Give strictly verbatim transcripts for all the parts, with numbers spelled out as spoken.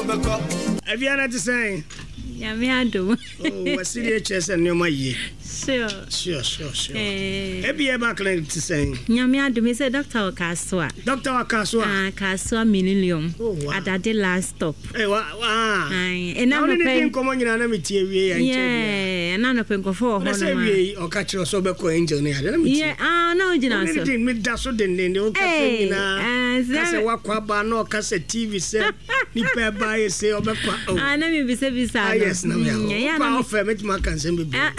Abiana te sɛn? Nyame adom. Oh, wasiri kyerɛ sɛ nneɛma yie. Sure. Sure, sure, sure. Eh. Ebi ɛba clinic te sɛn? Nyame adom sɛ doctor wɔ Kasoa. Doctor wɔ Kasoa? Ah, Kasoa Millennium. Oh, wow. Adade last stop. Eh, wa, wa. Aye. Ɛna Na wo ne ne nɔpɛ. di nkɔmmɔ nyinaa na metie wie yɛ nkyɛ biara. Yeah, ɛna nɔpɛ nkɔfo wɔ Na hɔ sɛ nom a. wie yi, ɔka kyerɛ sɛ ɔbɛkɔ Angel ne ade na metie. Yeah, ah, na wogyina Wo ne so. ne di meda so dendenden wo kasa Hey, nyinaa. eh, Ka sɛ sɛ- wakɔ aba na ɔka sɛ T V sɛ nipa ɛba yɛ sɛ ɔbɛkɔ. Oh. Ah, na mebisabisa Ah, no. yes, na me Mm, ɛyɛ a ahɔ. na Wokɔ me- a wofɛ mɛtumi aka nsɛm bebree. Ah.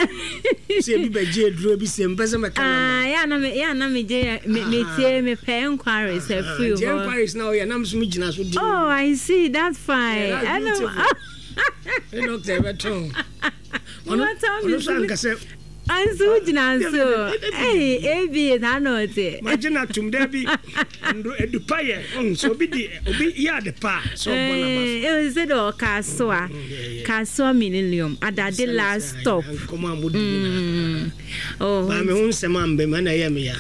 Sɛ ebi bɛgye aduro bi sɛ mpɛ sɛ mɛka Ah, nama. yɛ a na me yɛ a na megye me metie mepɛ enquiries afiri Nti hɔ. enquiries na ɔyɛ nam so megyina so di. Oh, I see. That's fine. Yeah, that's I know. beautiful. Ne doctor ɛbɛtɔn. Ɔno Ɔno ɔno nso anka sɛ Anso wogyina so. Hey, A B A saa na ɔte. Magye no atom da bi ndo adupa yɛ ɔhu sɛ obi di obi yɛ ade pa a sɛ ɔbɔ n'aba so. Eh, eh, sɛ de Kasoa. Kasoa Millennium. Adade last stop. Nkɔmmɔ a modi nyinaa. Mm. Oh, Maa me ho nsɛm amba mu ɛna ɛyɛ me ya.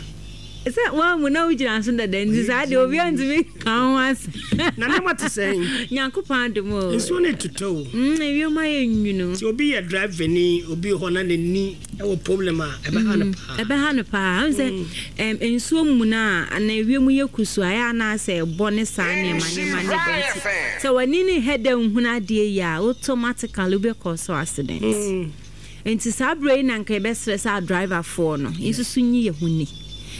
Sɛ wɔn mu na wogyina so dada nti saa deɛ obi antumi ka ho ase. Na nneɛma te sɛn? Nyankopɔn adom o. Nsuo no tutɔ o. Mm, ewiem ayɛ nwunu. Nti obi yɛ driver ni obi hɔ na n'ani ɛwɔ problem a ɛbɛha no paa. Ɛbɛha no paa ɔn sɛ ɛm, nsuo mu no a ana ewiem yɛ kusu a ɛyɛ anaasɛ ɛbɔ ne saa nneɛma nneɛma ne bɛ nti sɛ w'ani ne hɛ dɛ nhunu adeɛ yi a, automatically wobɛkɔ so accident. Mm. Nti saa berɛ yi na nka yɛbɛsrɛ sɛ adriverfoɔ no nsusu nyi yɛ ho ni.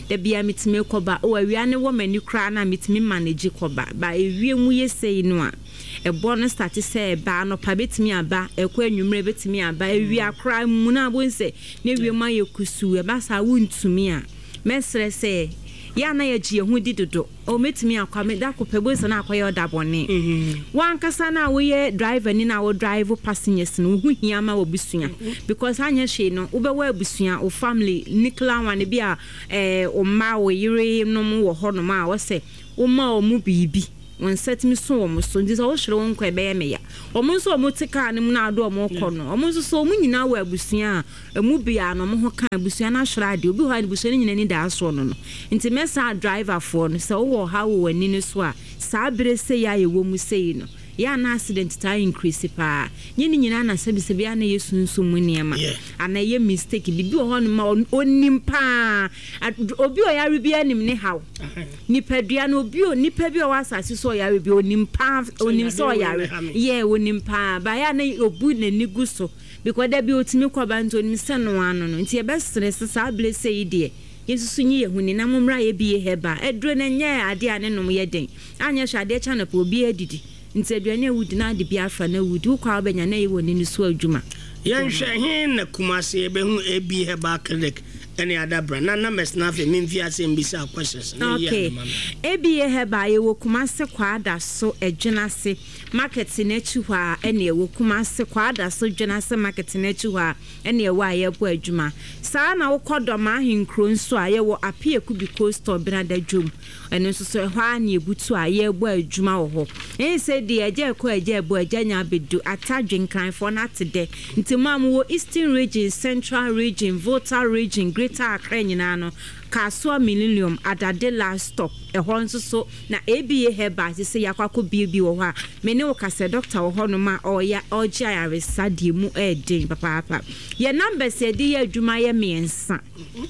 Da bia metumi kɔba o, awia ne wɔ m'ani koraa na metumi manage kɔba ba. Ewie mu yɛ sei no a, ɛbɔ no start sɛ ɛba anɔpa, bɛtumi aba ɛkɔ anwummerɛ, bɛtumi aba awia koraa mu no abɔ sɛ ne wie mu ayɛ kusuu. Ɛba saa wontumi a, mɛsrɛ sɛ yɛ ana yɛgye yɛn ho di dodo o, mɛtumi akɔ me da kɔ pɛ bo sɛ na akɔyɛ ɔda bɔne. Wankasa na woyɛ driver ni na wo drive passengers no, wo ho hia ma w'abusua because anyɛ hwee no, wobɛwɔ abusua, wo family nuclear one bi a ɛɛ wo mma, wo yere nom wɔ hɔnom a wɔsɛ woma wɔn biribi, wɔn nsa tumi so wɔn so. Nti sɛ wohwere wo nkɔ, ɛbɛyɛ me ya. Wɔn nso a wɔte kaa no mu na ado wɔn kɔ no, wɔn nso so wɔn nyinaa wɔ abusua a emu bia na wɔn ho ka abusua no ahwere adeɛ. Obi hɔ a abusua no nyinaa ni da asoɔ no no Nti mɛsa driverfoɔ no sɛ wowɔ ha wɔ w'ani no so a, saa bere sɛ yɛ a yɛwɔ mu sei no yɛ ana accident taa increase paa. Nye ne nyinaa na sɛbisɛbi ana yɛ sunsun mu nneɛma Yeah. ana ɛyɛ mistake bibi wɔ hɔ nom a ɔn- onim paa. Ad- obi a ɔyare bi anim ne haw nipadua no, obi o nipa bi a ɔwɔ asase so ɔyare bi onim paa, onim sɛ yadeɛ wei ɔyare na ɛha me. Yɛ onim paa baayɛ a na obu n'ani gu so because da bi otumi kɔba nti onim sɛ no ano no. Nti yɛbɛsere sɛ saa abere sɛ yi deɛ, yɛnsusu nyi yɛn ho ni na mommra yɛ bi yɛ hɛba aduro no. Nyɛ adeɛ a ne nom yɛ den, anyɛ hwɛ adeɛ kyɛ anɔpɛ obi adidi nti aduane a wodi na ade bi afa na wudi wokɔ a wobɛnya na ɛyɛ wɔ n'ani so adwuma. Yɛnhwɛ he na Kumase yɛbɛhu A B Herbal Clinic ɛne Adabra na numbers na afei memfi ase mbisa questions na yi Okay. ade ma me. A B A Herbal, yɛwɔ Kumase Kwadaso Adwenase market n'akyi hɔ a ɛne ɛwɔ Kumase Kwadaso Dwenase market n'akyi hɔ a ɛne ɛwɔ a yɛbɔ adwuma saa. Na wokɔ Dɔm Ahenkuro nso a, yɛwɔ Apiaku bi coastal Benada dwom, ɛno nso so ɛhɔ a ne ebutu a yɛrebɔ adwuma wɔ hɔ. Ɛyɛ sɛ deɛ ɛgya ɛkɔ ɛgya ɛbɔ ɛgya nya abɛdu atadwe Nkranfoɔ no ate dɛ. Nti mo a mowɔ Eastern Region, Central Region, Volta Region, Greater Accra nyinaa no, Kasoa Millennium, Adade last stop, ɛhɔ nso so na A B A Herbal sɛ yɛakɔ akɔ bie bi wɔ hɔ a me ne wo kasɛ doctor wɔ hɔnom a ɔyɛ ɔgye ayaresa deɛ mu ɛɛden papaapa. Yɛ numbers yɛde yɛ adwuma yɛ mmiɛnsa,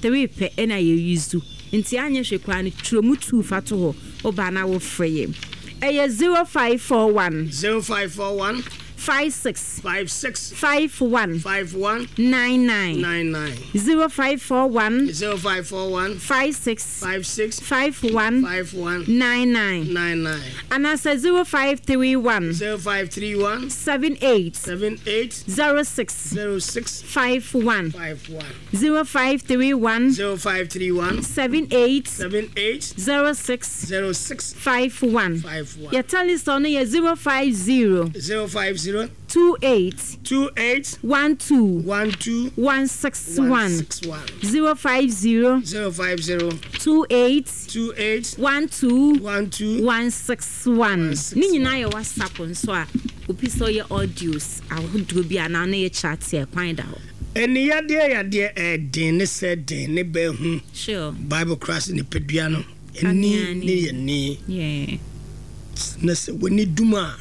three pɛ ɛna yɛ use, nti anyɛ hwɛ koraa no, twerɛ mu two fa to hɔ. Wobaa na wofrɛ yɛ, ɛyɛ zero five four one zero five four one five six five six five one five one nine nine. Nine nine. zero five four one zero five four one five six five six five one five one nine nine. Nine nine. Anaasɛ zero five three one zero five three one seven eight seven eight zero six zero six five one. Five one. zero five three one zero five three one seven eight seven eight zero six zero six five one. Five one. Yɛ Telecel no yɛ zero five zero zero five zero two eight two eight one two one two one six one. One six one. Zero five zero zero five zero two eight two eight one two one two one six one. One six Ne nyinaa yɛ WhatsApp nso a obi sɛ ɔyɛ audios ahodoɔ bi anaa ne yɛ chat ɛ kwan da hɔ. Ɛni yadeɛ yadeɛ ɛɛden ne sɛ den ne bɛɛhu. Sure. Bible kora sɛ nipadua no ɛni Kanea ne yɛ ni yeah. na sɛ w'ani dum a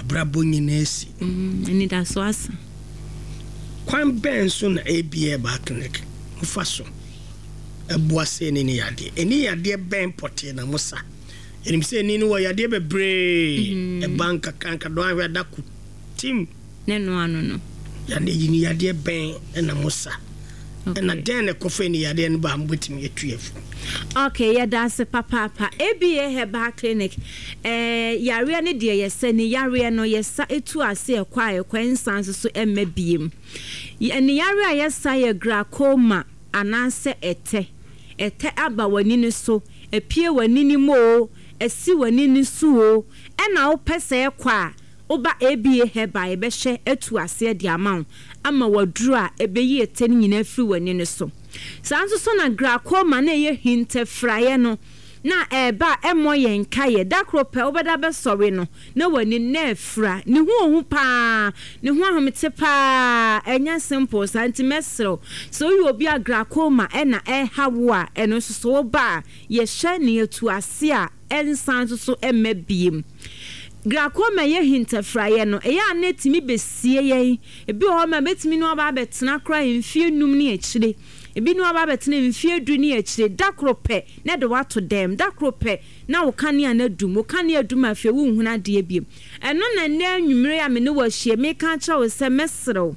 Abrabɔ nyinaa si. Mm, anidaso asa. Kwan bɛn so na A B Herbal Clinic mofa so ɛboa sɛ ɛni ne yadeɛ? Ɛni yadeɛ bɛn pɔtee na mo sa? Ɛnim sɛ ɛni no wɔ yadeɛ bebree. Ɛba nkakra nkadɔ ahwɛ adako tim. Ne no ano no. Yadeɛ yi ni, yadeɛ bɛn ɛna mo sa, ɛna dɛn na ɛkɔfa ɛni yadeɛ no ba a mobɛtumi atu yɛ fo? Okay, yɛda ase papaapa. A B A Herbal Clinic, ɛɛ yareɛ no deɛ, yɛsɛ ne yareɛ no, yɛsa etu ase, ɛkɔ a ɛkɔ, nsan nso so ɛmma biem. Ɛne yareɛ a yɛsa yɛ glaucoma anaasɛ ɛtɛ. Ɛtɛ aba w'ani no so, epie w'ani no mu o, ɛsi w'ani no so o, ɛna wopɛ sɛ ɛkɔ a, woba A B A Herbal, yɛbɛhyɛ atu aseɛ de ama wo, ama waduro a ɛbɛyi ɛtɛ no nyinaa firi w'ani no so. Saa nso so na glaucoma na ɛyɛ hintafiraeɛ no na ɛɛba a ɛmmɔ yɛn nkaeɛ. Da koro pɛ wobɛda bɛsɔre no na w'ani na afira. Ne ho ohu paa, ne ho ahomete paa, ɛnyɛ simple saa. Nti mɛserew sɛ woyɛ obi a glaucoma ɛna ɛha wo a, ɛno nso so woba a, yɛhyɛ ne yɛtu ase a ɛnsan nso so ɛmma biem. Glaucoma yɛ hintafiraeɛ no, ɛyɛ a na ɛtumi bɛsie yɛn. Ebi wɔ hɔ ma bɛtumi no aba abɛtena koraa mfie num ne akyire, ebi no aba abɛtena mfie du ne akyire. Da koro pɛ na de wato dɛm, da koro pɛ na wo kanea no adum, wo kanea adum, afei wonhunu adeɛ biem. Ɛno na nnɛ anwummere a me ne wɔ ahyia meka kyerɛ wo sɛ mɛserew,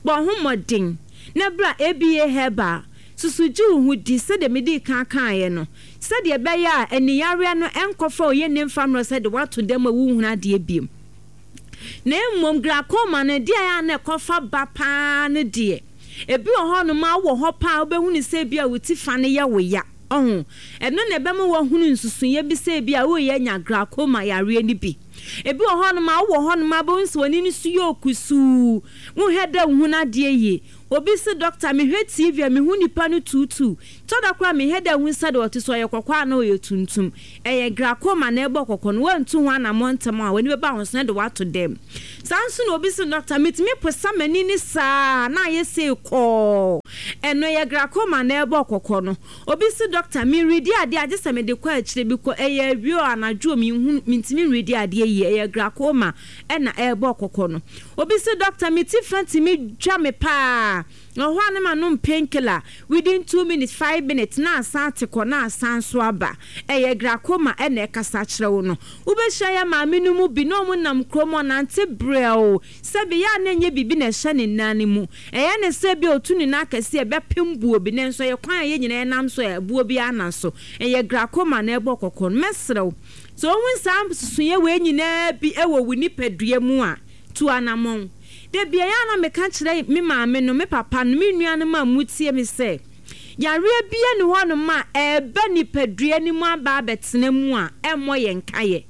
bɔ ho mmɔden na bra A B A Herbal. Susu gye wo ho di sɛdeɛ mede kan kaeɛ no, sɛdeɛ ɛbɛyɛ a aniyareɛ no ɛnkɔfa oyɛ ne mfa mmerɛ sɛ de wato dɛm a wonhunu adeɛ biem. Na mmom glaucoma no deɛ, a na ɛkɔfa ba paa no deɛ, ebi wɔ hɔnom a wowɔ hɔ paa, wobɛhunu sɛ bi a wo ti fa no yɛ wo ya ɔho. Ɛno na ɛbɛma woahunu nsusuiɛ bi sɛ bi a woyɛ anya glaucoma yareɛ no bi. Ebi wɔ hɔnom a wowɔ hɔnom a bɛhu sɛ w'ani no so yɛ okusuu, wohwɛ dɛ wohu no adeɛ yie. Obi si, "Doctor, mehwɛ T V a, mehu nipa no tuutuu tɔda koraa, mehwɛ dɛ hu sɛ de ɔte so, ɔyɛ kɔkɔɔ a na ɔyɛ tuntum." Ɛyɛ glaucoma na ɛbɔ kɔkɔ no. Woantu ho anammɔ ntɛm a, w'ani bɛba ho so na de wato dɛm. Saa nso na obi si, "Doctor, metumi posa m'ani ne saa na ayɛ sei kɔɔ." Ɛno ɛyɛ glaucoma na ɛbɔ kɔkɔ no. Obi si, "Doctor, meredi adeɛ agye sɛ mede kɔ akyire bi kɔ, ɛyɛ awie o, anadwo o, menhu, mentumi nredi adeɛ yie." Ɛyɛ glaucoma ɛna ɛrebɔ kɔkɔ no. Obi si, "Doctor, me ti fa tumi dwa me paa na ɔhɔ a ne ma nom painkiller, within two minutes, five minutes na asan ate kɔ na asan so aba." Ɛyɛ glaucoma ɛna ɛkasa kyerɛ wo no. Wobɛhyia yɛ maame no mu bi na ɔmo nam kurom, ɔnante brɛw, sɛbi yɛ a na ɛnyɛ biribi na ɛhyɛ ne nan no mu, ɛyɛ ne sɛ bi a otu ne nan akɛse ɛbɛpem buo bi, nanso ɛyɛ kwan a yɛn nyinaa nam so, ɛbuo bi ana so. Ɛyɛ glaucoma na ɛbɔ kɔkɔ no. Mɛsrɛw, sɛ ohun saa nsusuiɛ wei nyinaa bi ɛwɔ wo nipadua mu a, tu anammɔn. Da bia yɛ a na meka kyerɛ me maame no, me papa no, me nuanom a mutie me sɛ yareɛ bia ne hɔnom a ɛɛba nipadua no mu aba abɛtena mu a ɛmmɔ yɛn nkaeɛ.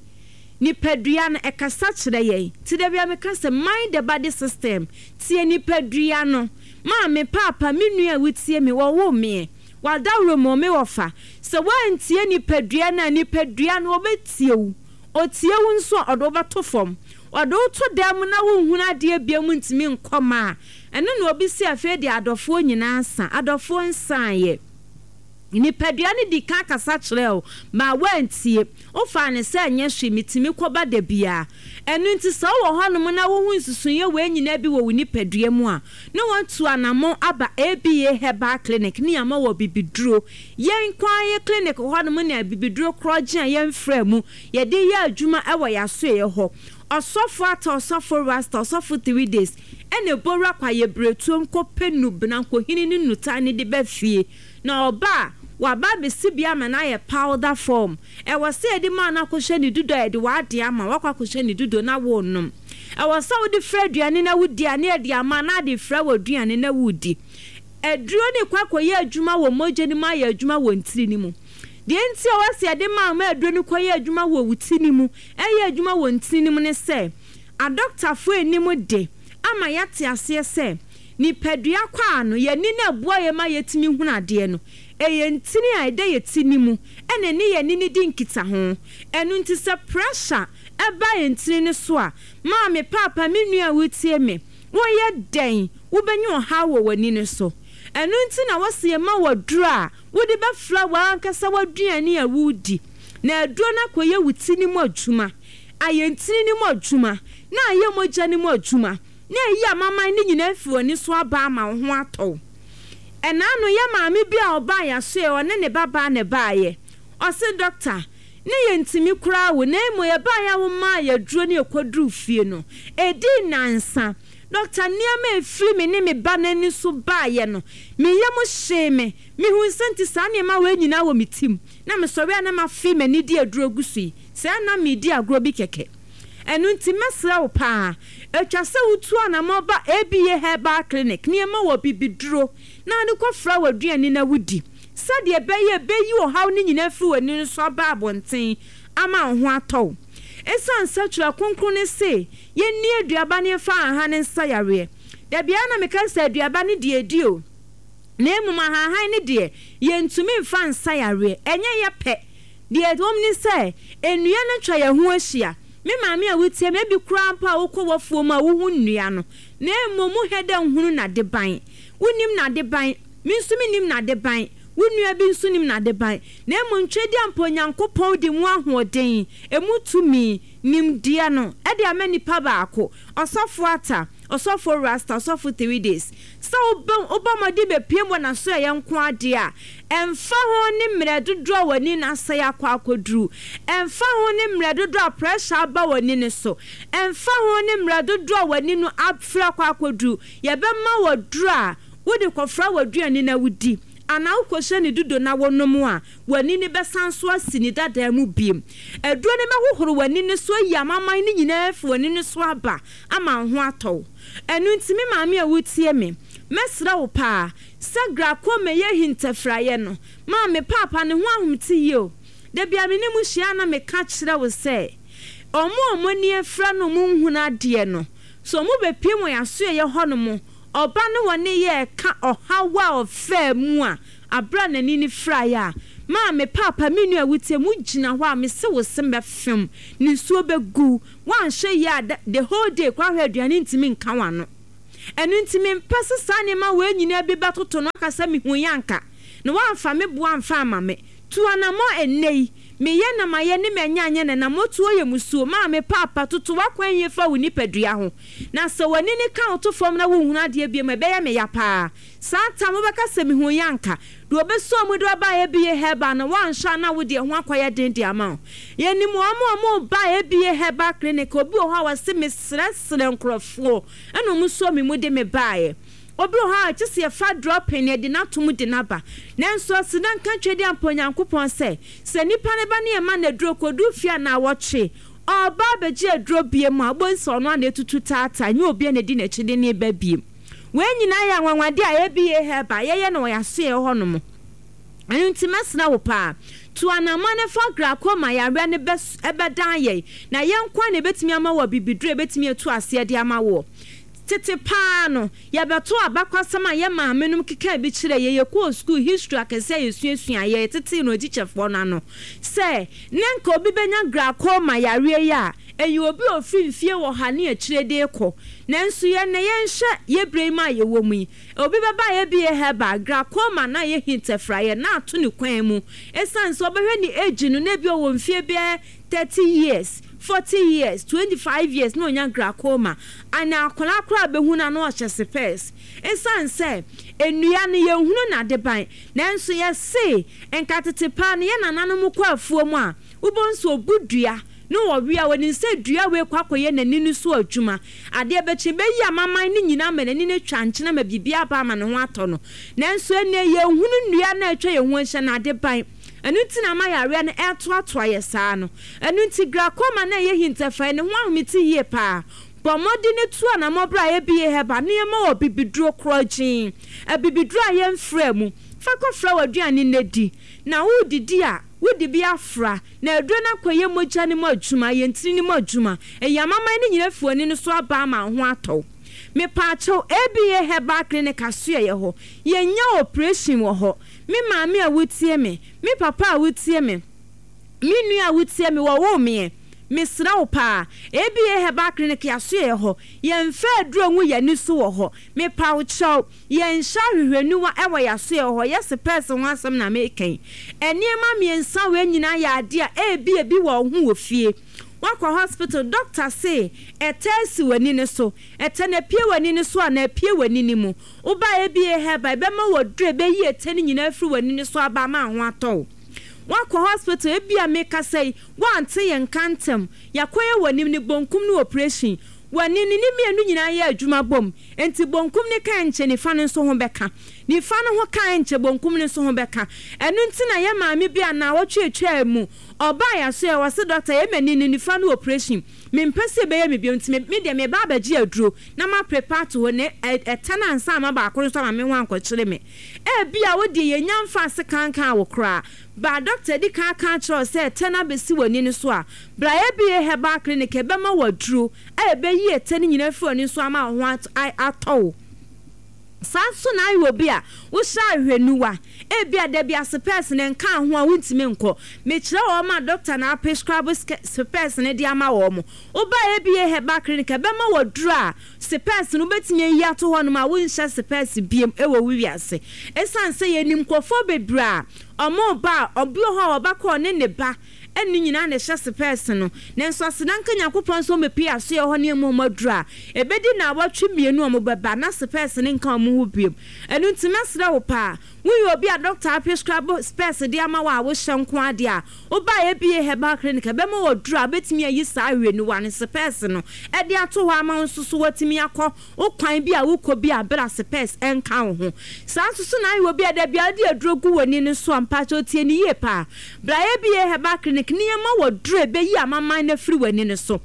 Nipadua no ɛkasa kyerɛ yɛn. Nti da bia meka sɛ mind the body system, tie nipadua no. Maame, paapa, me nua a wotie me, wɔwo meɛ wadawuro mu me wɔfa sɛ woantie nipadua no a, nipadua no wɔbɛtie wo. Ɔtie wo nso a, ɔde wobɛto fam, ɔde wo to dan mu na wonhunu adeɛ bia mu, ntumi nkɔma a ɛno na obi si. Afei deɛ, adɔfoɔ nyinaa sa, adɔfoɔ nsaeɛ. Nipadua no di kan kasa kyerɛ wo ma woantie, wofaa ne sɛ nyɛ hwee, metumi kɔba da biara. Ɛno nti sɛ wowɔ hɔnom na wohu nsusuiɛ wei nyinaa bi wɔ wo nipadua mu a, na wɔatu anammɔn aba A B A Herbal Clinic ne ama wɔ bibiduro. Yɛn kwan yɛ clinic hɔnom ne bibiduro korɔgye a yɛmfrɛ mu yɛde yɛ adwuma ɛwɔ yɛasoeɛ hɔ. Ɔsɔfo Ata, Ɔsɔfo Rasta, Ɔsɔfo Three Days ɛna ebowura kwa yɛ beretuom kɔpɛ nubena nkohini ne nutan ne de bɛ fie na ɔba a waba abɛsi bi ama no ayɛ powder form. Ɛwɔ sɛ yɛde maa no akɔhyɛ ne dudo a yɛde w'ade ama wakɔ akɔhyɛ ne dudo na wɔnom. Ɛwɔ sɛ wode frɛ aduane na wodi a, ne yɛde ama na ade frɛ wɔ aduane na wodi. Aduro ne kɔ akɔyɛ adwuma wɔ mogya no mu, ayɛ adwuma wɔ ntiri no mu. Deɛ nti a wɔsi yɛde maa ma aduro no kɔyɛ adwuma wɔ wo ti no mu, ɛyɛ adwuma wɔ ntiri no mu ne sɛ adɔktafoɔ anim de ama yɛate aseɛ sɛ nipadua kɔ a no yɛni no aboa yɛ ma yɛtumi hunu adeɛ no. Ɛyɛ ntini a ɛda yɛ ti no mu ɛna ne yɛni no di nkita ho. Ɛno nti sɛ pressure ɛba yɛ ntini no so a, maame, paapa, me nua a wotie me, woyɛ dɛn wobɛnya ɔhaw wɔ w'ani no so. Ɛno nti na wɔsi yɛ ma wɔ duro a wode bɛfra w'ankasa w'aduane a wodi na aduro no akɔyɛ wo ti no mu adwuma. Ayɛ ntini no mu adwuma, na ayɛ mogya no mu adwuma, na ayi amaman no nyinaa afiri w'ani so aba ama wo ho atɔ wo. Ɛna ano yɛ maame bi a ɔbaa yɛasoɛ, ɔne ne babaa na ɛbaeɛ. Ɔse, "Dɔkta, ne yɛntumi koraa wo, na mmom yɛbaeɛ a womaa yɛaduro ne yɛkɔduruu fie no, ɛdii nnansa. Dɔkta, nneɛma a ɛfiri me ne me ba no ani so baeɛ no, me yam hyee me. Mehuu sɛ nti saa nneɛma wei nyinaa wɔ me tirim, na mesɔre a na mafe m'ani de aduro agu so yi, sɛɛ na meredi agorɔ bi kɛkɛ. Ɛno nti mɛsrɛ wo paa, ɛtwa sɛ wotu anammɔn ba A B A Herbal Clinic na yɛma wo abibiduro na wode kɔfra w'aduane na wodi, sɛdeɛ ɛbɛyɛ a ɛbɛyi ɔhaw no nyinaa afiri w'ani no so aba abɔnten ama wo ho atɔ wo. Ɛsiane sɛ Twerɛ Kronkron no se yɛnni aduaba na yɛmfa ahahan nsa yareɛ. Da biara na meka sɛ aduaba no deɛ ɛdi o, na mmom ahahan no deɛ yɛntumi mfa nsa yareɛ. Ɛnyɛ yɛ pɛ. Deɛ ɛwom ne sɛ, nnua no atwa yɛn ho ahyia. Me maame a wotie me, ebi koraa mpo a wokɔ w'afuo mu a wohu nnua no, na mmom wohwɛ dɛ nhunu n'adeban. Wonnim n'adeban, me nso mennim n'adeban, wo nua bi nso nim n'adeban. Na mmom Tweaduampɔ Onyankopɔn de mu ahoɔden, emu tumi, nimdeɛ no, de ama nipa baako, Ɔsɔfo Ata, Ɔsɔfo Rasta, Ɔsɔfo Three Days. Sɛ wobɛ wobɔ mmɔden bɛpue wɔ n'asoɛeɛ nko ara deɛ a, ɛmfa ho ne mmerɛ dodoɔ a w'ani no asɛe akɔ akɔduru, ɛmfa ho ne mmerɛ dodoɔ a pressure aba w'ani no so, ɛmfa ho ne mmerɛ dodoɔ a w'ani no afiri akɔ akɔduru, yɛbɛma wo aduro a wode kɔfra w'aduane na wodi, anaa wokɔhyɛ ne dudo na wonom a, w'ani no bɛsan so asi ne dadaa mu bio. Aduro no bɛhohoro w'ani no so ayi amaman no nyinaa afiri w'ani no so aba ama wo ho atɔ wo. Ɛno nti, me maame a wotie me, mɛsrɛ wo paa sɛ glaucoma yɛ hintafiraeɛ no, maame, paapa ne ho ahomte yie o. Da biara me ne mo hyia a na meka kyerɛ wo sɛ, wɔn a wɔn ani afira no wɔn nhunu adeɛ no, sɛ wɔbɛpue wɔ yɛn asoɛeɛ hɔnom, ɔba ne wɔne yɛ reka ɔhaw a ɔfaa mu a aberɛ a n'ani no firaeɛ a, maame, paapa, me nua a wotie me, wogyina hɔ a, mese wo se mɛfem, nisuo bɛgu wo, woanhwɛ yie a, the whole day koraa hwɛ aduane ntumi nka w'ano. Ɛno nti mempɛ sɛ saa nneɛma wei nyinaa bi bɛtoto no aka sɛ mehuiɛ anka, na woamfa me boɔ amfa amma me. Tu anammɔn ɛnnɛ yi. Meyɛ na mayɛ ne manya anyɛ na nammotuo yɛ musuo. Maame, paapa, toto w'akwan yie fa wo nipadua ho. Na sɛ w'ani no ka wo to fam na wonhunu adeɛ bio a, ɛbɛyɛ me ya paa. Saa tam, wobɛka sɛ mehuiɛ anka. Deɛ ɔbɛsɔ mu de wo aba A B A Herbal no, woanhwɛ a na wo deɛ ho akɔyɛ den de ama wo. Yɛnim wɔn a wɔreba A B A Herbal Clinic, obi wɔ hɔ a ɔse mesrɛsrɛ nkurɔfoɔ ɛna wɔn sɔ me mu de me baeɛ. Obi wɔ hɔ a kyɛ sɛ yɛfa dropping na yɛde no ato mu de no aba. Nanso aseda nka Tweaduampɔ Onyankopɔn sɛ, sɛ nipa no ba ne yɛma no aduro kɔduru fie a naawɔtwe, ɔreba abɛgye aduro biem a, wobɛhu sɛ ɔno ara na ɛtutu taataa, nyɛ obi a na ɛdi n'akyi de no reba biem. Wei nyinaa yɛ anwanwadeɛ a A B A Herbal yɛyɛ no wɔ yɛn asoɛeɛ hɔnom. Ɛno nti mɛsrɛ wo paa, tu anammɔn na fa glaucoma yareɛ no bɛ bɛdan yɛn, na yɛn nko ara na ɛbɛtumi ama wo abibiduro a ɛbɛtumi atu aseɛ de ama woɔ. Tete paa no, yɛbɛtoo abakwasɛm a yɛn maamenom kekaa bi kyerɛɛ yɛn, yɛkɔɔ sukuu, history akɛseɛ a yɛsuasuaeɛ, yɛtetee no atikyafoɔ no ano, sɛ na nka obi bɛnya glaucoma yareɛ yi a, ɛyɛ obi a ɔfiri mfie ɔha ne akyire de rekɔ. Nanso yɛn nnɛ, yɛnhwɛ yɛn berɛ yi mu a yɛwɔ mu yi, obi bɛba a A B A Herbal, glaucoma no ayɛ hintafiraeɛ na ato ne kwan mu, ɛsiane sɛ wobɛhwɛ ne age no na ebia ɔwɔ mfie bɛyɛ thirty years, forty years, twenty five years na ɔnya glaucoma. Ana akwadaa koraa bɛhu no a na ɔhyɛ sepɛɛs. Ɛsiane sɛ nnua no yɛnhunu n'adeban, nanso yɛse nka tete paa no yɛn nananom kɔ afuo mu a, wobɛhu sɛ ɔbu dua na wɔwe a, wɔnim sɛ dua wei kɔ akɔyɛ n'ani no so adwuma. Adeɛ bɛkye bɛyi amaman no nyinaa ama n'ani no atwa nkyene ama biribi aba ama ne ho atɔ no. Nanso ɛnnɛ yɛnhunu nnua no a atwa yɛn ho ahyia no adeban. Ɛno nti na ama yareɛ no ɛretoatoa yɛ saa no. Ɛno nti glaucoma no a ɛyɛ hintafae no ho ahomete yie paa. Bɔ mmɔden tu anammɔn berɛ a A B A Herbal nneɛma wɔ bibiduro korɔgyenn, abibiduro a yɛmfraa mu. Fa kɔfra w'aduane na di. Na woredidi a, wode bi afra, na aduro no akɔyɛ mogya no mu adwuma, ayɛ ntini no mu adwuma, ayi amaman no nyinaa afi w'ani no so aba ama wo ho atɔ wo. Mepaakyɛw, A B A Herbal Clinic asoɛeɛ hɔ, yɛnyɛ operation wɔ hɔ. Me maame a wotie me, me papa a wotie me, me nua a wotie me, wɔwoo meɛ. Mesrɛ wo paa, A B A Herbal Clinic asoɛeɛ hɔ, yɛmfa aduro ngu yɛn ani so wɔ hɔ. Mepa wo kyɛw, yɛnhyɛ ahwehwɛniwa wɔ yɛn asoɛeɛ hɔ, yɛ sepɛɛse ho asɛm na meka yi. Nneɛma mmiɛnsa wei nyinaa yɛ adeɛ a ebi ebi wɔ wo ho wɔ fie. Woakɔ hospital, doctor se ɛtɛ asi w'ani no so. Ɛtɛ no apue w'ani no so anaa apue w'ani no mu. Woba A B A Herbal, ɛbɛma wo aduro a ɛbɛyi ɛtɛ no nyinaa afiri w'ani no so aba ama ho atɔ wo. Woakɔ hospital, ebia mekasa yi, woante yɛn nka ntɛm. Yɛakɔyɛ w'anim ne bonkum no operation. W'ani no ne mmienu nyinaa yɛ adwuma bom. Enti bonkum no ka nkyɛ nifa no nso ho bɛka. Nifa no ho ka nkyɛ bonkum no nso ho bɛka. Ɛno nti na yɛ maame bi a naawɔtwe atwaa mu, ɔbaa yɛ so yɛ wɔ se, "Doctor, yɛ m'ani no nifa no operation. Mempɛ sɛ ɛbɛyɛ me bio, nti me deɛ meba abɛgye aduro na ma prepare to hɔ na ɛtɛ no ansa ama baako no nso ama me ho ankɔkyere me." Ebia wo deɛ yɛnya mfa ase kankan wo koraa. Ba doctor di kan aka akyerɛ wo sɛ ɛtɛ no abɛsi w'ani no so a, bra A B A Herbal Clinic, ɛbɛma wo aduro a ɛbɛyi ɛtɛ no nyinaa firi w'ani so ama wo ho atɔ wo. Saa nso na ayɛ obi a wohyɛ ahwehwɛniwa, ebia da bi asopɛs ne nka ho a wontumi nkɔ. Mekyerɛ wɔn ma doctor na aprescribe spɛs no de ama wɔn mo. Woba A B A Herbal Clinic, ɛbɛma wo aduro a spɛs no wobɛtumi ayi ato hɔnom a wonhyɛ spɛs biem wɔ wo wiase. Ɛsiane sɛ yɛnim nkurɔfoɔ bebree a ɔmo ba a, ɔbi wɔ hɔ a ɔba kɔ ɔne ne ba ɛne nyinaa na ɛhyɛ spɛs no, nanso aseda nka Nyankopɔn sɛ ɔmɛpie asoɛ hɔ ne ɛmu ɔmo aduro a ɛbɛdi na awɔtwe mmienu ɔmo bɛba na spɛs ne nka ɔmo ho biem. Ɛno nti mɛsrɛ wo paa, woyɛ obi a doctor aprescribe spɛs de ama wo a wohyɛ nko adeɛ a, woba A B A Herbal Clinic, ɛbɛma wɔ duro a wobɛtumi ayi saa ahwehwɛniwa no spɛs no ɛde ato hɔ ama wo nso so watumi akɔ wo kwan bi a wokɔ bi a bere a spɛs ɛnka wo ho. Saa nso so na ayɛ obi a da bia wode aduro gu w'ani no so a, mpakyɛ otie ne yie paa, bra A B A Herbal Clinic ne yɛma wɔ duro ɛbɛyi amaman no afiri w'ani no so.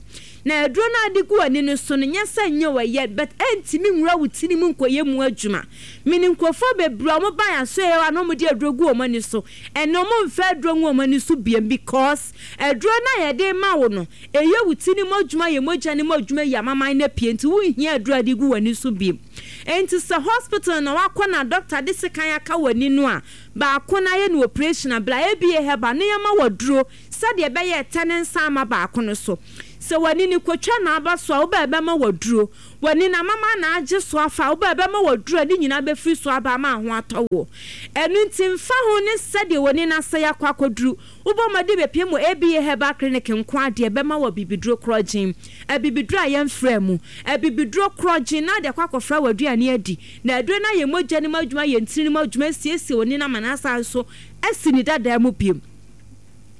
Na aduro no ade gu w'ani no so no, nyɛ sɛ nyɛ wɔyɛ, but ɛntumi nwura wo tiri mu nkɔyɛ mu adwuma. Mene nkurɔfoɔ bebree a wɔn ba yɛn aso yɛ a na wɔde aduro gu wɔn ani so, ɛnna wɔn mfa aduro ngu wɔn ani so biem, because aduro no a yɛde ma wo no, ɛyɛ wo ti ne mu adwuma, yɛ mogya ne mu adwuma, yi amaman no apue, nti wonhia aduro a de gu w'ani so biem. Nti sɛ hospital na wakɔ na doctor de sekan aka w'ani no a baako na ayɛ no operation a, bra A B A Herbal ne yɛma wɔ duro sɛdeɛ ɛbɛyɛ ɛtɛ ne nsa ama baako no so. Sɛ w'ani ne kotwa na aba so a, wobɛ ɛbɛma wɔ duro. W'ani na mama na agye so afa a, wobɛ ɛbɛma wɔ duro a ne nyinaa bɛfiri so aba ama ho atɔ wo. Ɛno nti mfa ho ne sɛdeɛ w'ani na asɛ akɔ akɔduru, wobɔ mmɔden bɛpie mu A B A Herbal Clinic nko adeɛ, bɛma wɔ bibiduro korɔgyen, abibiduro a yɛmfrɛ mu, abibiduro korɔgyen na de akɔ akɔfra w'aduane adi. Na aduro no ayɛ mogya no mu adwuma, yɛ ntini no mu adwuma, asiesie w'ani no ama no asan so asi ne dadaa mu bio.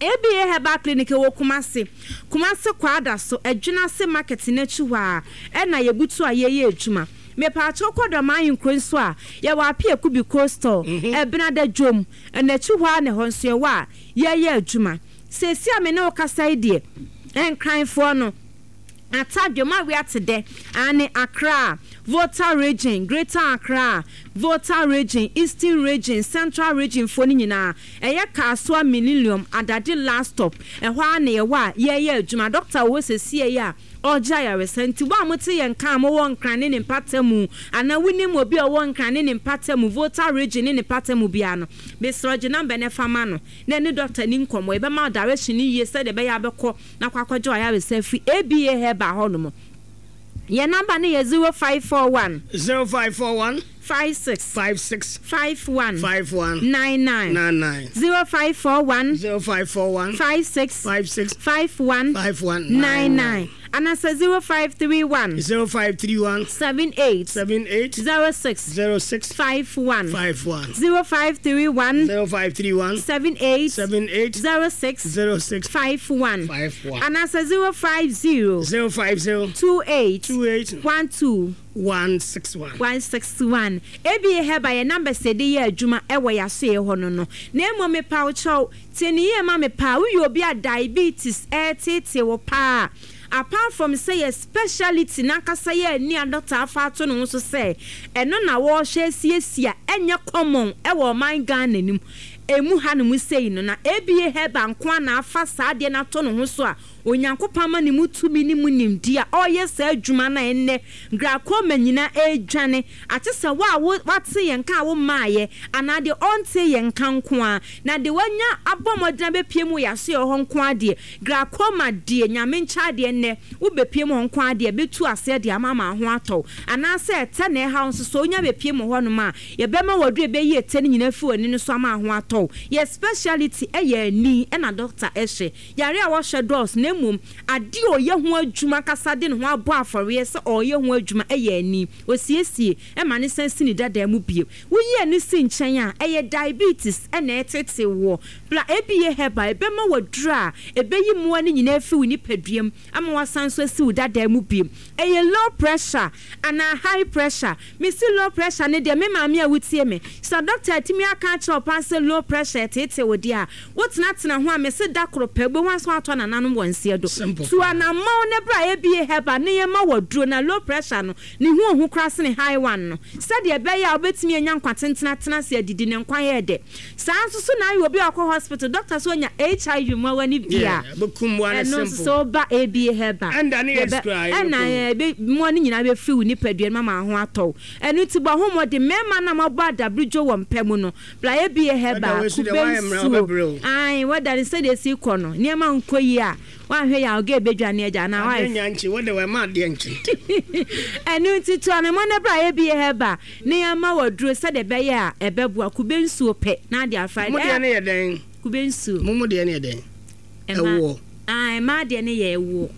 A B A Herbal Clinic wɔ Kumase, Kumase Kwada so, Adwinase Market n'akyi hɔ a ɛna yɛbutu a yɛyɛ adwuma. Mepaakyɛw, kɔ Dɔm Ahenkuro nso a, yɛwɔ Apiaku bi Coastal, Ɛbenada dwom n'akyi hɔ a na ɛhɔ nso yɛwɔ a yɛyɛ adwuma. Seesi a me ne wo kasa yi deɛ, Nkranfoɔ no atadwom a wiate dɛ ane Accra, Volta Region, Greater Accra, Volta Region, Eastern Region, Central Region foɔ no nyinaa, ɛyɛ Kasoa Millennium Adade last stop, ɛhɔ a na yɛwɔ a yɛyɛ adwuma. Doctor wɔ hɔ sɛsie yi a ɔgye ayaresa. Nti wo a mote yɛn nka a mowɔ Nkran ne ne mpata mu, anaa wonim obi a ɔwɔ Nkran ne ne mpata mu, Volta Region ne ne mpata mu biara no, mesrɛ gye number no fa ma no na ɛne doctor ni nkɔmmɔ. Yɛbɛma wo direction no yie sɛdeɛ ɛbɛyɛ abɛkɔ na akɔ akɔgye ayaresa afiri A B A Herbal hɔ nom. Yɛn number no yɛ zero five four one, zero five four one, five six, five six, five one, five one, nine nine. Nine nine. zero five four one, zero five four one, five six, five six, five one, five one, nine nine. Anasɛ zero five three one, zero five three one, seven eight, seven eight, zero six, zero six, five one. Five one. zero five three one, zero five three one, seven eight, seven eight, zero six, zero six, five one. Five one. Anasɛ zero five zero, zero five zero, two eight, two eight, one two, one six one. One six one. A B A Herbal yɛ number sɛ de yɛ adwuma ɛwɔ yɛasoɛ hɔ no no na mmom mepa wo kyɛw, tie ne yie ma me paa. Woyɛ obi a diabetes ɛɛtete wo paa, apart from sɛ yɛ speciality n'ankasa yɛ ani a doctor afa ato ne ho so sɛ ɛno na wɔrehwɛ asiesie a ɛnyɛ common ɛwɔ ɔman Ghana nim emu ha no mu sei no, na A B A Herbal nko a na afa saa adeɛ no ato ne ho so a Onyankopɔn ama ne mu tumi ne mu nimdi a ɔreyɛ saa adwuma no a ɛnnɛ glaucoma nyinaa ɛredwane ate sɛ wo a wate yɛn nka a wo mmaayɛ anaa deɛ ɔnte yɛn nka nko a na deɛ wanya abɔ mmɔdena bɛpie mu yɛaso yɛ hɔ nko adeɛ, glaucoma deɛ, Nyame nkyɛ adeɛ, nnɛ wobɛpie mu hɔ nko adeɛ bɛtu aseɛ deɛ ama ama ho atɔw, anaasɛ ɛtɛ na ɛha nso so wonya bɛpie mu hɔnom a, yɛbɛma wɔduru ɛbɛyi ɛtɛ no nyinaa fi w'ani no so ama ho atɔw. Yɛ speciality ɛyɛ ani, ɛna doctor ɛhyɛ yare a wɔhyɛ dɔɔso na na mmom adeɛ a ɔyɛ ho adwuma kasa de ne ho abɔ afɔreɛ sɛ ɔyɛ ho adwuma ɛyɛ ani. Osiesie ɛma ne san si ne dada mu bio. Woyi ani si nkyɛn a, ɛyɛ diabetes ɛna ɛtete wɔ bla A B A Herbal ɛbɛma waduro a ɛbɛyi mmoa no nyinaa fi wo nipaduam ama wasan so asi wo dada mu bio. Ɛyɛ low pressure anaa high pressure? Mesi low pressure ne deɛ, me maame a wotie me, sɛ doctor atumi aka akyerɛ wo paa sɛ low pressure ɛtete wo deɛ a, wotenatena ho a, mese da koro pɛ wobɛhu aso atɔ nananom wɔ nseɛ do. Simple. Tu anammɔn ne bra A B A Herbal ne yɛma waduro na low pressure no ne ho ohu koraa sene high one no, sɛdeɛ ɛbɛyɛ a wobɛtumi anya nkwa tentena tena ase adidi ne nkwa yɛ dɛ. Saa nso so na ayɛ obi a ɔkɔ hospital, doctor so onya H I V mmoawa no bi a, bɛkum mmoa no. Ɛno nso simple. Sɛ woba A B A Herbal Ɛnda ne yɛbɛ- AIDS koraa, ɛna yɛbɛkum. ɛbɛ mmoa no nyinaa bɛfiri wo nipadua no ma ma ho atɔ wo. Ɛno nti bɔ ho mmɔden, mmarima na mabɔ adabridwo wɔ mpɛ mu no, bra A B A Herbal. Wɛda wei so deɛ Kube woayɛ mmerɛ, nsuo. wobɛbrɛ o. Ae, wɛda ne sɛdeɛ esi kɔ no, nneɛma nkɔ yie a, woanhwɛ yɛ a, ɔga ebɛdwane agya anaa Adeɛ woayɛ nya nkye wode wɔma adeɛ nkye. Ɛno nti to anamɔ no bra A B A Herbal ne yɛma waduro sɛdeɛ ɛbɛyɛ a ɛbɛboa. Kube nsuo pɛ na ade afa. Mo deɛ ne yɛ dɛn? Kube nsuo. Mo mo deɛ ne yɛ dɛn? Ɛma- Ɛwoɔ. Ah, ɛmaa deɛ no yɛ ɛwoɔ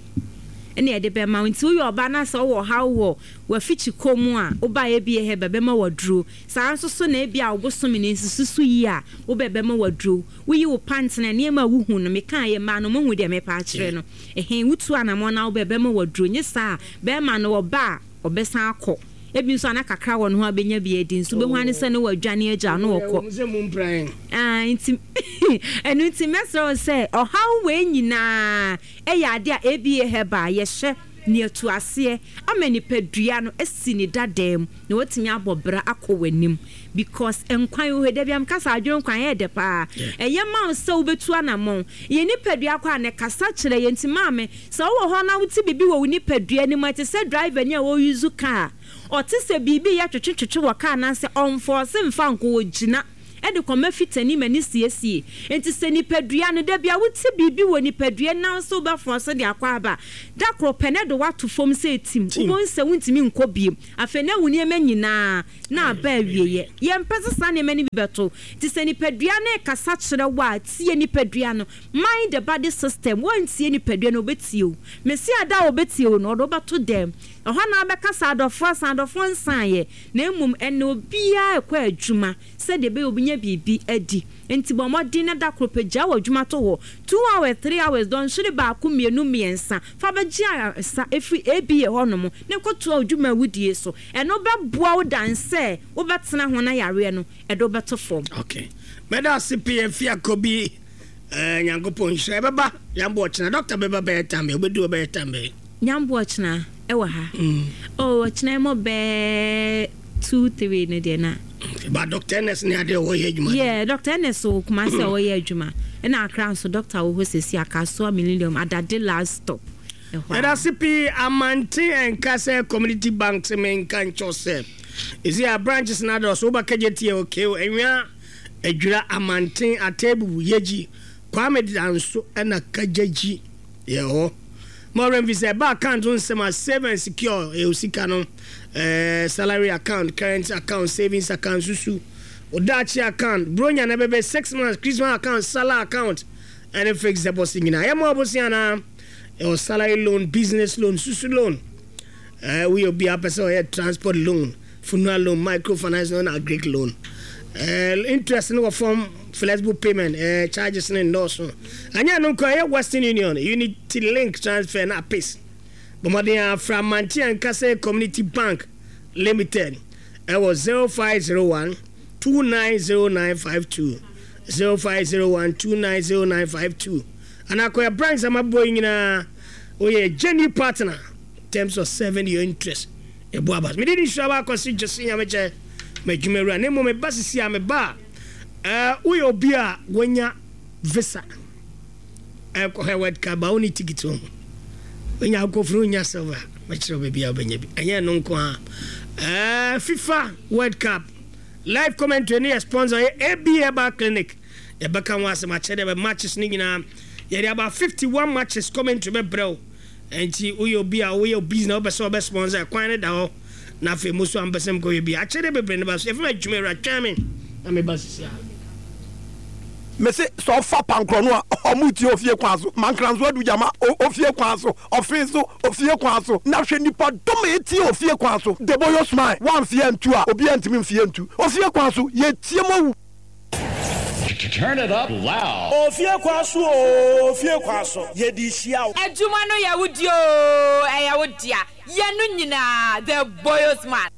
ɛna yɛde bɛma wo. Nti woyɛ ɔbaa na sɛ wowɔ haw wɔ wafikyi kɔ mu a, woba A B A Herbal bɛma waduro. Saa nso so na ebi a wobosome ne nsusu so yi a, wobɛ bɛma waduro. Woyi wo pant na nneɛma a wohu no, meka yɛ mmaa no, mohu deɛ mepa akyerɛ no ɛhɛn. Wotu anammɔ na wobɛ bɛma waduro. Nye saa a, bɛrima no wɔba a, ɔbɛsan akɔ. Ebi nso ana kakra wɔ ne ho a, bɛnya bi adi nso, wobɛhu ane sɛ ne wadwane agya no wɔkɔ. Ɛwɔ mu sɛ mu mpran. Ah, nti ɛno nti mɛsrɛ wo sɛ ɔhaw wei nyinaa ɛyɛ ade a A B A Herbal yɛhyɛ ne atu aseɛ ama nipadua no asi ne dadaa mu na watumi abɔ bra akɔ w'anim, because nkwan wɔ hɔ da bi am kasa adwene nkwan yɛ dɛ paa. Ɛyɛ ma wo sɛ wobɛtu anammɔn yɛ nipadua kɔ a ne kasa kyerɛ yɛ. Nti maame, sɛ wowɔ hɔ na wote biribi wɔ wo nipadua no mu a, ɛte sɛ driver ni a wɔuse car, ɔte sɛ biribi yɛ twetwetwetwe wɔ car anaasɛ ɔmfɔɔse mfa nkɔ, wɔgyina ɛde kɔma fitani ma ne siesie. Nti sɛ nipadua no da bia wote biribi wɔ nipadua nan so, wobɛfoɔ so de akɔ aba, da koro pɛ ne de woato fam sɛ tim. Tim. Wobɛhu sɛ wontumi nkɔ biem. Afei na wo nneɛma nyinaa na aba awieɛ. Yɛmpɛ sɛ saa nneɛma no bi bɛto. Nti sɛ nipadua no kasa kyerɛ wo a, tie nipadua no. Mind the body system. Woantie nipadua no, wobɛtie wo. Mesi ada a wobɛtie wo no, ɔde wobɛto dɛm ɛhɔ na wobɛkasa adɔfoɔ asan adɔfoɔ nsaeɛ. Na mmom ɛnɛ obiara ɛkɔ adwuma sɛdeɛ ɛbɛyɛ obinya biribi adi. Nti bɔ mmɔden na da koro pɛ gya wɔ adwuma to hɔ, two hours, three hours, dɔnhwere baako, mmienu, mmiɛnsa, fa bɛgye ayaresa ɛfiri A B A hɔnom na kɔtoa adwuma a wodie so. Ɛno bɛboa wo dan sɛ wobɛtena ho na yareɛ no ɛde wobɛto fam. Okay, mɛda ase pii afi akɔ eh, Nyankopɔn nhyira. Ɛbɛba yɛambɔ ɔkyena, doctor bɛba bɛyɛ tam bɛ wobɛdu, bɛyɛ tam bɛyɛ. Nyambo ɔkyena ɛwɔ ha. Oh, ɔkyena ɛmɔ bɛɛ two three no deɛ na. Okay, ba Doctor Ernest ne adeɛ wɔyɛ adwuma. Yeah, Doctor Ernest wɔ Kumasi a ɔyɛ adwuma, ɛna Accra nso doctor wɔ hɔ sɛsi, Akasoa Millennium Adade last stop ɛhɔ a. Yɛda ase pii. Amante ɛnka sɛ Community Bank sɛ menka nkyɛw sɛ ɛsi a branches no adɔso. Wobɛkagye tie okeo ɛnwea Adwira, Amanten, Atɛbubu, Yɛgyi, Kwame Danso ɛna Kagyagyi yɛ hɔ ma ɔwerɛ mfi sɛ ɛba account ho nsɛm a, save and secure ɛyɛ sika no, eh, salary account, current account, savings account, susu odaakye account, bronya na bɛbɛ six months, Christmas account, salary account ɛne fixed deposit nyinaa. Yɛma ɔbosia anaa ɛwɔ salary loan, business loan, susu loan, ɛɛ woyɛ obi a pɛ sɛ ɔyɛ transport loan, funeral loan, microfinance loan, agric loan, ɛɛ interest no wɔ fam, flexible payment, ɛɛ charges ne nnɔɔso. Anyɛ no nkɔ ɛyɛ Western Union, Unity Link transfer na APIS. Bɔmmɔden afra Mante Ankasa Community Bank Limited ɛwɔ zero five zero one two nine zero nine five two, zero five zero one two nine zero nine five two, anaa kɔyɛ branch amabɔ yi nyinaa. Woyɛ genuine partner in terms of serving your interest. Ɛbu aba mede ne hyira baakɔse gyese Nyamekyɛ m'adwuma wura ne mmom meba sisi a meba a, ɛɛ, woyɛ obi a wanya visa ɛkɔhɛ World Cup ba, wone ticket ho wonya akɔfunu, wonya silver, mɛkyerɛ wo baabi a wobɛnya bi. Ɛnyɛ no nko a, ɛɛ, FIFA World Cup live commentary ne yɛ sponsor yɛ A B Herbal Clinic. Yɛbɛka ho asɛm akyerɛ dɛ bɛ matches no nyinaa yɛde about fifty-one matches commentary bɛbrɛ wo. Nti woyɛ obi a woyɛ business, wopɛ sɛ wobɛ sponsor, kwan no da hɔ. Na afei mo so ampɛ sɛ mkɔyɛ bi akyɛdeɛ bebree no ba so. Yɛfrɛ me adwuma awura, twɛn me na meba sisi a. Mese sɛ ɔfa pankorɔ no a ɔmo tie ofie kwan so mankranso adu gyama ofie kwan so ɔfin so ofie kwan so na hwɛ nipa dɔm a etie ofie kwan so deboyo smile wamfie ntu a obi antumi mfie ntu ofie kwan so yɛtie mo wu. Turn it up loud. Ofie kwan so o, ofie kwan so yɛde hyia wo. Adwuma no yɛ wo di o, ɛyɛ wo dea. Yɛn no nyinaa, the boyos man.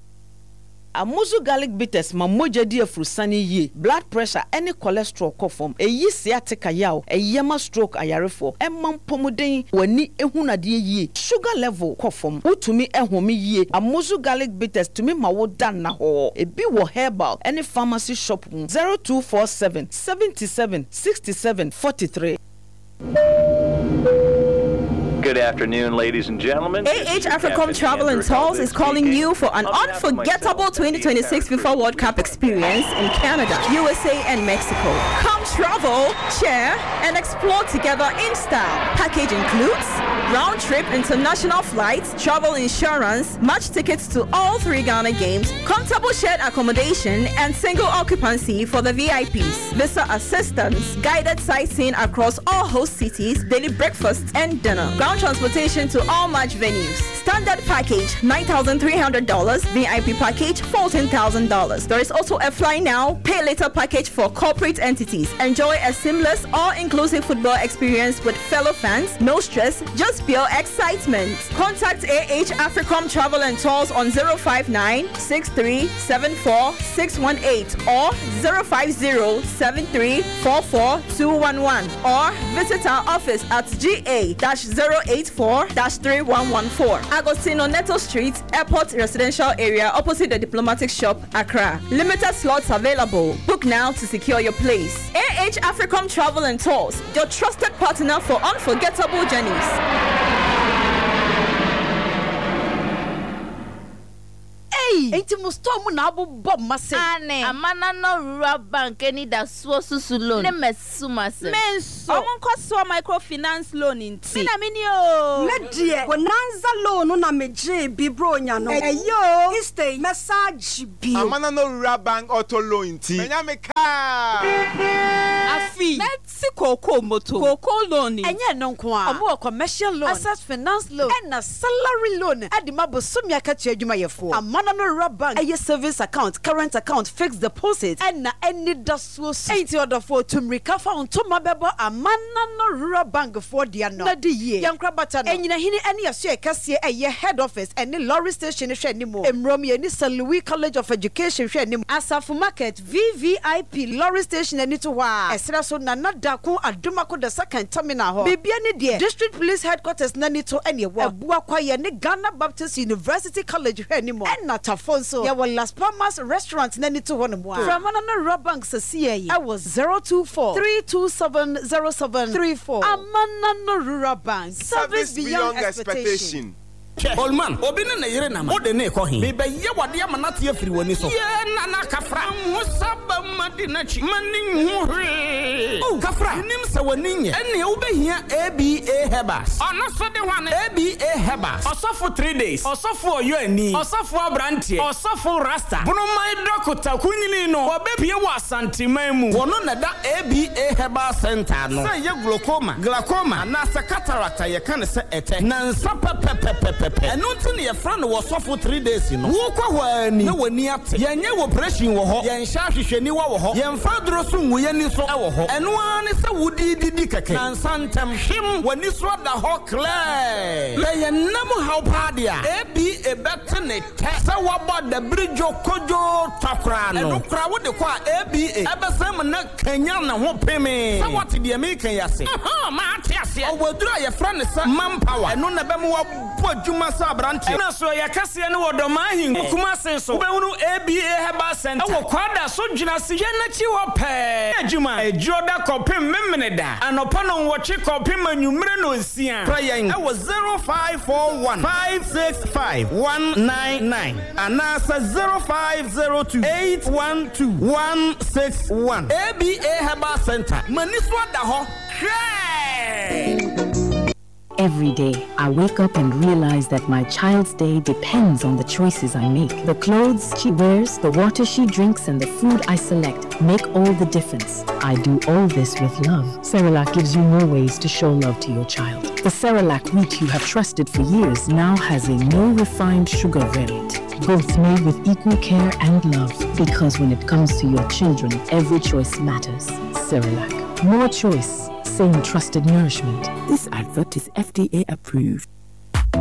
Amuzu Garlic Bitters ma mogya di afurusane yie, blood pressure ne cholesterol kɔ fam, ɛyi sciatica yaw, ɛyɛ ma stroke ayarefoɔ, ɛma mpɔmuden, w'ani ehunu adeɛ yie, sugar level kɔ fam, wotumi ɛhome yie. Amuzu Garlic Bitters tumi ma wo da nnahɔɔ. Ebi wɔ herbal ne pharmacy shop mu. zero two four seven seventy seven sixty seven forty three. Good afternoon, ladies and gentlemen. A H Africom Travel and Tours is calling you for an unforgettable twenty twenty-six FIFA World Cup experience in Canada, U S A, and Mexico. Come travel, share, and explore together in style. Package includes round-trip international flights, travel insurance, match tickets to all three Ghana games, comfortable shared accommodation, and single occupancy for the V I Ps, visa assistance, guided sightseeing across all host cities, daily breakfasts and dinner, ground transportation to all match venues. Standard package nine thousand three hundred dollars, V I P package fourteen thousand dollars. There is also a fly now, pay later package for corporate entities. Enjoy a seamless, all-inclusive football experience with fellow fans. No stress, just pure excitement. Contact A H Africom Travel and Tours on zero five nine, six three seven four, six one eight or zero five zero, seven three four four, two one one, or visit our office at G A dash zero eight four dash three one one four, Agostino Neto Street, Airport Residential Area, opposite the Diplomatic Shop, Accra. Limited slots available. Book now to secure your place. A H Africom Travel and Tours, your trusted partner for unforgettable journeys. Hey, enti mo store mu na abobɔ mase. Ane. Amana no Rural Bank eni da so susu loan. Ne mesumase. Menso. Omo nkoso microfinance loan nti. Me na me ni o. Me die. Bonanza loan na me gye bi bro nya no. Eyo. Stay message bi. Amana no Rural Bank auto loan nti. Menya me car. Afi. Si koko moto. Koko loan. Enye no nko a. Omo commercial loan, access finance loan, and a salary loan. Adi mabo sumi akatua adwumayɛfoɔ. Amana no Rural Bank ɛyɛ savings account, current account, fixed deposit, ɛna ɛni da so so. Enti ɔdɔfoɔ tumrika fa ntoma bɛbɔ Amana no Rural Bank foɔ deɛ no. Na di yie. Yɛnkora bata no. Ɛnyinahini ɛne ɛso ɛkɛseɛ ɛyɛ head office ɛne lorry station hwɛ anim. Emrom yɛ ni Saint Louis College of Education hwɛ anim. Asafo Market V V I P lorry station ani to hɔ a. Ɛsrɛ so Nana Dako Adomako the second terminal hɔ. Bibia ne deɛ District Police Headquarters nani to ɛne ɛwɔ. Ɛboa kwayɛ ne Ghana Baptist University College hwɛ anim. Ɛna Tafo nso yɛwɔ Las Palmas Restaurant nani to hɔ no mu a. Framana no Rural Bank sɛsiɛ yi ɛwɔ zero two four three two seven zero seven three four. Amana no Rural Bank. Service beyond expectation. Old man, obi ne ne yere nam. O de ne kɔ he. Me be ye wade ama na tie firi wani so. Ye na na kafra. Ho saba ma di na chi. Ma ni hu hwe. Oh, kafra. Nim se wani nye. Ene wo be hia A B A Herbals. Ono so de hwane A B A Herbals. Osofo three days. Osofo oyo ani. Osofo abrantie. Osofo rasta. Bonomai dokota kunyini no. Wo be pie wo asanteman mu. Wono na da A B A Herbal Center no. Say ye glaucoma, glaucoma na sa cataract ye kan se ete. Na nsa pepepepepe. Ɛno nti ne yɛfrɛ no wɔsɔfo three days no. Wokɔ hɔ ani na w'ani ate. Yɛnyɛ operation wɔ hɔ. Yɛnhyɛ ahwehwɛniwa wɔ hɔ. Yɛmfa aduro so ngu yɛni so ɛwɔ hɔ. Ɛno ara ne sɛ wodididi kɛkɛ. Na nsa ntɛm hwem w'ani so ada hɔ clear. Na yɛnam haw paa deɛ a, A B A bɛte ne tɛ. Sɛ woabɔ dabiri dwo kodwo twa koraa no. Ɛno koraa wode kɔ a A B A ɛbɛsɛn mu na kanya ne ho peme. Sɛ woate deɛ meka yi ase. Ɛhɔ, maate aseɛ. Ɔwɔ aduro a yɛfrɛ no sɛ manpower. Ɛno na ɛbɛma woabɔ adwuma sɛ aberanteɛ. Ɛna so yɛ kaseɛ no wɔ dɔmaa ahen Kumase so. Wobɛhunu A B A Herbal Center. Ɛwɔ Kwada so dwena se yɛn n'akyi hɔ pɛɛ. Adwuma adwuro da kɔpem memene da. Anɔpa no nwɔtwe kɔpem anwummere no nsia. Frɛ yɛn ɛwɔ zero five four one five six five one nine nine anaasɛ zero five zero two eight one two one six one. A B A Herbal Center. Mani so ada hɔ. Hwɛ! Every day, I wake up and realize that my child's day depends on the choices I make. The clothes she wears, the water she drinks, and the food I select make all the difference. I do all this with love. Cerelac gives you more ways to show love to your child. The Cerelac wheat you have trusted for years now has a no refined sugar variant. Both made with equal care and love. Because when it comes to your children, every choice matters. Cerelac. More choice, same trusted nourishment. This advert is F D A approved.